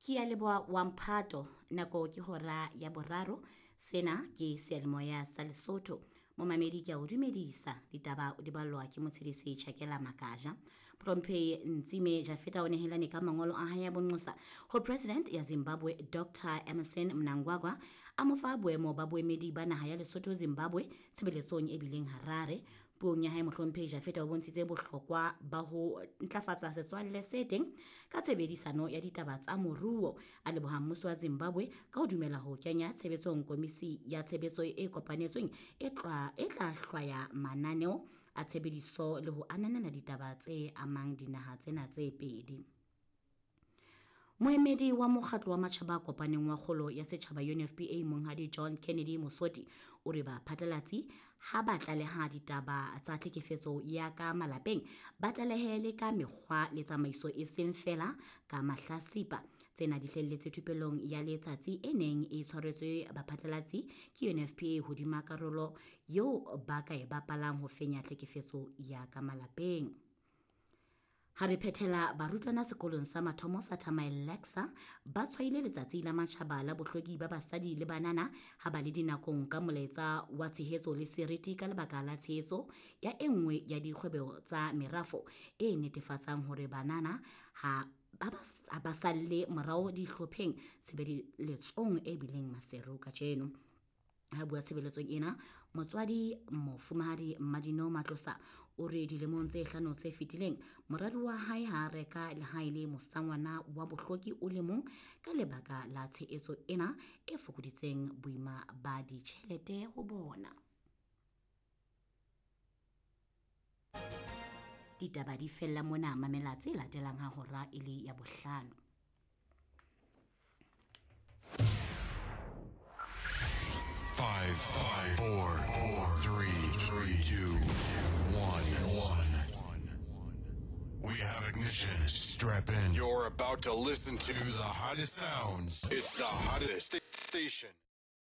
Ke a leboha wa mphato nako ke hora ya boraro sena ke seyalemoya sa Lesotho momamedi ke a o dumedisa ditaba di ballwa ke motshedisi Chakela Makaja Mohlomphehi Ntsime Jafeta o nehelane ka mangolo a hae a bonqosa ho President ya Zimbabwe Dr Emmerson Mnangagwa a mo fa boemo ba boemedi ba naha ya Lesotho Zimbabwe tshebeletsong e bileng Harare Puong ya hae Mohlomphehi Jafeta o bontshitse bohlokwa ba ho ntlafatsa setswalle se teng ka tshebedisano ya ditaba tsa moruo. A leboha mmuso wa Zimbabwe ka ho dumela ho kenya tshebetsong komisi ya tshebetso e kopanetsweng e tla e tla hlwaya mananeo a tshebediso le ho ananela ditaba tse amang dinaha tsena tse pedi. Moemedi wa mokgatlo wa matjhaba a kopaneng wa kgolo ya setjhaba UNFPA Monghadi John Kennedy Mosoti o re baphatlalatsi ha ba tlaleha ditaba tsa tlhekefetso ya ka malapeng ba tlalehe le ka mekgwa le tsamaiso e seng feela ka mahlasipa. Tsena di hlelletse thupelong ya letsatsi e neng e tshwaretswe baphatlalatsi ke UNFPA hodima karolo eo ba ka e bapalang ho fenya tlhekefetso ya ka malapeng. Ha re phethela barutwana sekolong sa mathomo sa Thamaellexa ba tshwaile letsatsi la matjhaba la bohlweki ba basadi le banana ha ba le dinakong ka molaetsa wa tshehetso le seriti ka lebaka la tshehetso ya e nngwe ya dikgwebo tsa merafo e netefatsang hore banana ha ba salle morao dihlopheng tshebeletsong e bileng Maseru kajeno. Ha bua tshebeletsong ena motswadi mofumahadi Mmadino Matlosa o re dilemong tse hlano tse fetileng moradi wa hae ha a reka lehae le mosangwana wa bohloki o le mong ka lebaka la tshehetso ena e fokoditseng boima ba ditjhelete ho bona. Ditaba di fella mona mamela tse latelang ha hora e le ya bohlano. 5, 5, 4, 4, 3, 3, 2, 1, 1. We have ignition. Strap in. You're about to listen to the hottest sounds. It's the hottest station.